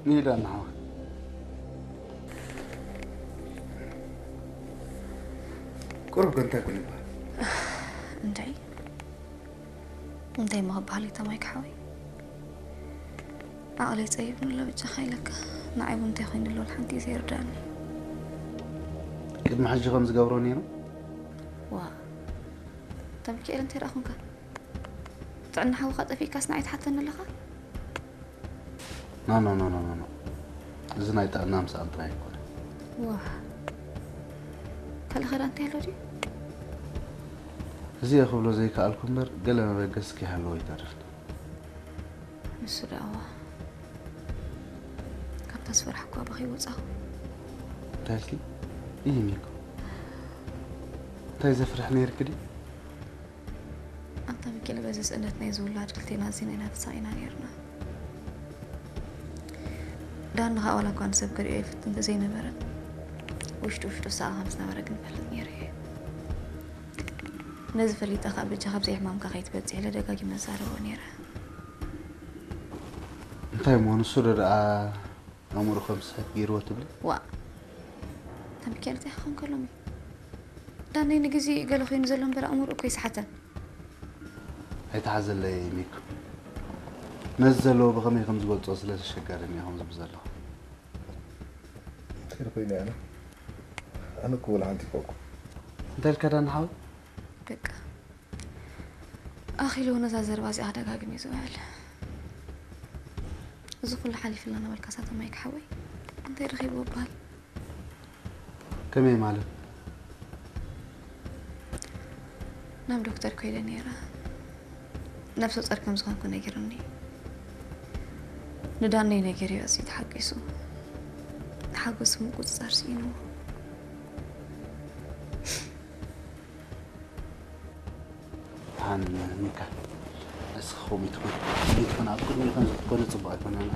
ንሂዳ ንሓወ ቁሩብ ከ እንታይ ኮን ይበሃል? እንታይ እንታይ ሞ ክበሃል እዩ ተማይ ክሓወይ? ዓቕለይ ጸይብኒ ኣሎ ብጃኻ ኢለካ። ንዓይ እውን እንታይ ኮይኑ ኣሎ ሓንቲ እዩ ዘይርዳእኒ። ቅድሚ ሕጂ ከም ዝገብሮ ነይሩ። ዋ ተምኪኤል እንታይ ደኣ ኹንካ? ጥዕና ሓውኻ ጠፊእካስ ንዓይ ትሓተኒ ኣለኻ? ኖ ኖ ኖ ኖ ኖ፣ እዚ ናይ ጥዕና ምሳኣን ጥራይ ኣይኮነ። ዋ ካልእ ኸዳ እንታይ ኣሎ ድዩ? እዚኣ ክብሎ ዘይከኣልኩ እምበር ገለ መበገሲ ከይሃለዎ ይተርፍኒ። ንሱ ደኣዋ ካብታ ዝፈራሕኳ ኣባኺ ወፃኹ። እንታይ ኢልኪ? ይህ ሚኮ እንታይ ዘፍርሕ ነይርኪ ድዩ? ኣንታ ሚኪኤል በዚ ስእነት ናይ ዝውላድ ክልቴና ኣዚና ኢና ተሳቒና ነይርና። ዳኒ ከዓ ዋላ እኳ ንሰብ ክሪኦ ይፍትን እንተዘይነበረ ውሽጡ ውሽጡ ሳኣ ከም ዝነበረ ግን ፈልጥ ነይሩ እየ። ነዚ ፈሊጠ ከዓ በጃ ካብዚ ሕማምካ ከይትበፅሕ ኢለ ደጋጊመ ዛረቦ ነይረ። እንታይ እሞ ንሱ ዶ ደኣ ኣእምሮ ከም ዝስሕት ገይርዎ ትብሊ? ዋ ተምኬል እንታይ ክኸውን ከሎሚ ዳነይ ንግዜ ገለ ኮይኑ ዘሎ እምበር ኣእምሮ እኮ ይስሓተን። ኣይተሓዘለይ ሚክ፣ ነዚ ዘለዎ ብኸመይ ከም ዝገልጾ ስለ ዘሸገረኒ እየ ከምዚ ብዘለኹ። እንታይ ኮይኑ ኣነ ኣነ እኮ ወላ ሓንቲ ይፈኩ እንታይ ኢልካ ዳኒ ሓወይ? በቃ ኣኺሉ ነዛ ዘረባ እዚኣ ደጋግም እዩ ዝውዕል። እዚ ኩሉ ሓሊፍልና ነበልካ ሳተማይ ክሓወይ እንታይ ረኺብዎ በሃል? ከመይ ማለት? ናብ ዶክተር ኮይደ ነይረ። ነብሰ ጾር ከም ዝኾንኩ ነጊሩኒ። ንዳነይ ነጊረዮ ኣዝዩ ተሓጒሱ። ሓጎስ ምቁጽጻር ስኢንዎ። ደሓን ሚካ፣ እስኺ ከምኡ ትኹን። ከምኡ ትኹን፣ ኣብ ቅድሚኡ ከም ዝኮነ ጽቡቕ ኣይኮነን።